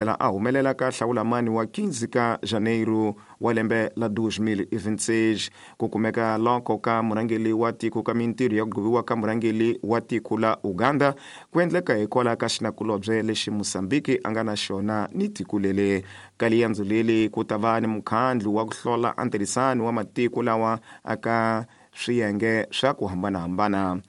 A humelela ka hlawulamani wa 15 ka Janeiro wa lembe la 2026. Ku kumeka loko ka murhangeli wa tiko ka mintirho ya ku gqiviwa ka murhangeli wa tiko la Uganda ku endleka hikwalaho ka xinakulobye lexi Mozambique a nga na xona ni tiko leli. Ka liyandzo leli ku ta va ni mukhandlu wa ku hlola a ntirhisano wa matiko lawa aka swiyenge swa ku hambanahambana.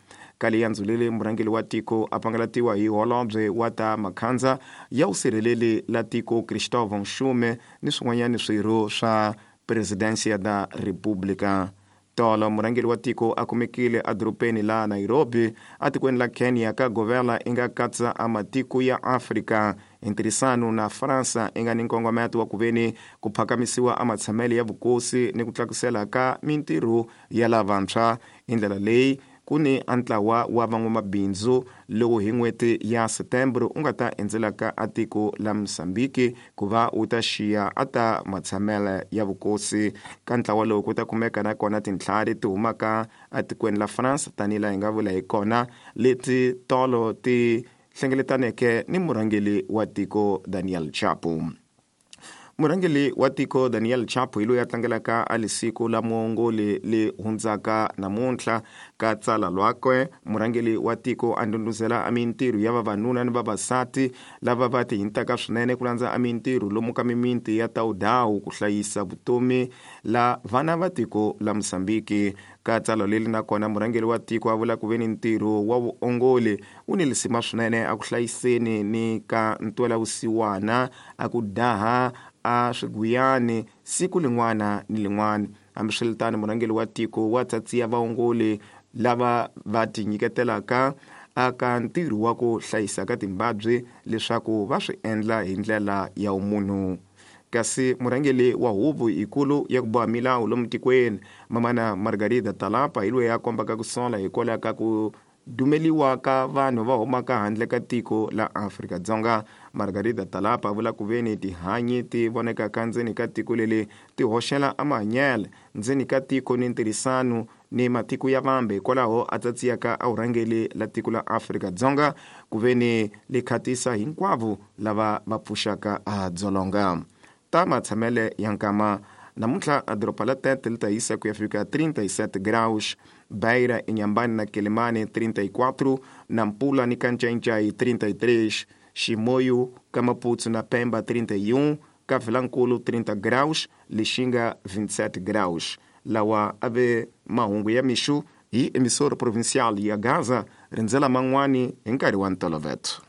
Ka liyandzo leli murhangeli wa tiko a pangalatiwa hi holobye wa ta makhandza ya vusirheleli la tiko Cristóvão Nxume ni swin'wanyana swirho swa Presidência da República. Tolo murhangeli wa tiko a kumekile edorobeni la Nairobi atikweni la Kenya ka govela i nga katsa a matiko ya Afrika hi ntirhisano na Fransa i nga ni nkongometo wa ku veni ku phakamisiwa a matshamelo ya vukosi ni ku tlakusela ka mintirho ya lavantshwa. Hi ndlela leyi ku ni a ntlawa wa van'wamabindzu lowu hi n'hweti ya Setembro u nga ta endzelaka a tiko la Mozambique ku va wu ta xiya a ta matshamelo ya vukosi. Ka ntlawa lowu ku ta kumeka na kona tintlhari ti humaka atikweni la France tanihi laha hi nga vula hi kona leti tolo ti hlengeletaneke ni murhangeli wa tiko Daniel Chapo. Murhangeli wa tiko Daniel Chapo hi loyi a tlangelaka a lisiku la muongoli le hundzaka namuntlha. Ka tsala lwakwe murhangeli wa tiko a ndhundhuzela a mintirho ya vavanuna ni vavasati lava va tihintaka swinene ku landza a mintirho lomu ka mimiti ya Taudawu ku hlayisa vutomi la vana va tiko la Mozambique. Ka tsalwa leri na kona murhangeli wa tiko a vula ku ve ni ntirho wa vuongoli wu ni lisima swinene a ku hlayiseni ni ka ntwelavusiwana a ku daha a swiguyani siku lin'wana ni lin'wana. Hambiswiritano murhangeli wa tiko wa tsatsiya vaongoli lava va tinyiketelaka aka ntirho wa ku hlayisa ka timbabyi leswaku va swi endla hi ndlela ya vumunhu. Kasi murhangeli wa huvo yikulu ya ku boha milawu lomu tikweni mamana Margarida Talapa hi loyi a kombaka ku sola hikwalaho ka ku dumeliwa ka vanhu va humaka handle ka tiko la Afrika-Dzonga. Margarida Talapa a vula ku veni tihanyi ti vonekaka ndzeni ka tiko leli ti hoxela a mahanyelo ndzeni ka tiko ni ntirhisano ni matiko ya vambe, hikwalaho a tsatsiyaka a vurhangeli la tiko la Afrika-Dzonga ku veni li khatisa hinkwavo lava va pfuxaka a dzolonga. Ta matshamele ya nkama namuntlha a doroba la Tete li ta yisa ku ya fika 37 graus, Beira, Inhambane na Quelimane 34, Nampula ni Kancancai 33, Chimoio, ka Maputo na Pemba 31, ka Vilankulu 30 graus, Lixinga 27 graus. Lawa a ve mahungu ya mixo hi emissora provincial ya Gaza, rindzela man'wani hi nkarhi wa ntoloveto.